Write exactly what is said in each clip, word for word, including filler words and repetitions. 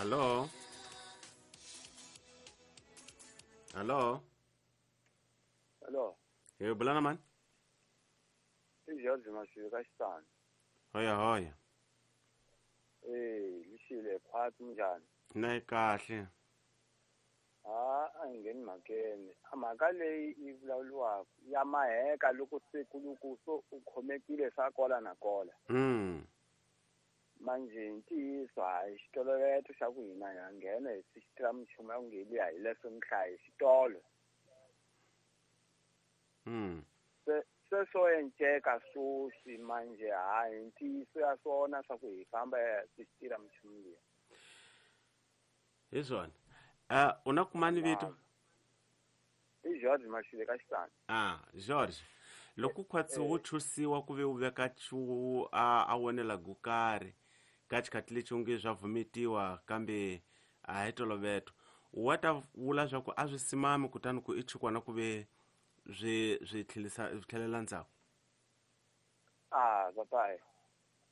Hallo. Hallo. Hallo. Hi bula na mani? I George Mashiri ka Xitani. Hoya hoya. Eh, lixile khwatsi njhani? Na yi kahle. A a hi ngheni mhakeni. A mhaka leyi yi vulavuriwaka ya maheka loko se ku loko so u khomekile swa kola na kola. Mm. Manje ntiyiso hayi xitoloveto xa ku hina hi nghena hi swi minchumu ya ku ngeliya hi leswo nhlayo xitolo. Mm. Se se swo enceka swoswi manje hayi ntiyiso ya swona swa ku hi famba hi swi minchumu liya. Hi swona. Uh, u na kumani vito? I George Mashile ka Xitani. Ah, George. Loko khwatsi wo chusiwa ku ve u veka chu a a wonela go karhi ka xikhathi lexi u nge swa vhumetiwa kambe a hi toloveto wa ta vula swa ku a swi simami kutani ku i chukwana ku ve swi swi tlhelisa swi tlhelela ndzhaku. Ah, papai.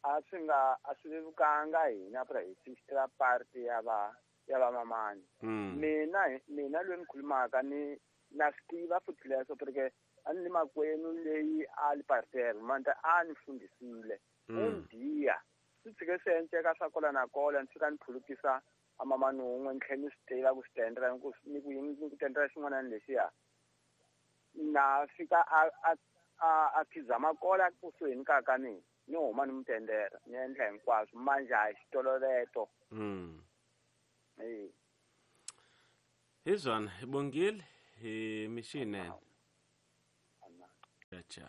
A swi nga a swi vevukanga hina pra hi fixela party ya va ya va mamani. Mm. Mina mina loyi ni khulumaka ni na swi tiva futhi leswo porque a ni makwenu leyi a li parterre manje a ni fundisile. Mm. Undiya swi tshike swi enceka swa kola na kola ni fika ni phulukisa a mamani wun'we ni tlhela ni swi tiva ku swi tendela ni ku ni ku ni ku tendela xin'wana lexiya na fika a a a a khizama kola kusuhi ni ka ka mina ni huma ni mu tendela ni endla hinkwaswo manje a hi xitoloveto. Mm. Eh. Hi swona hi bongile hi mixinene. Acha.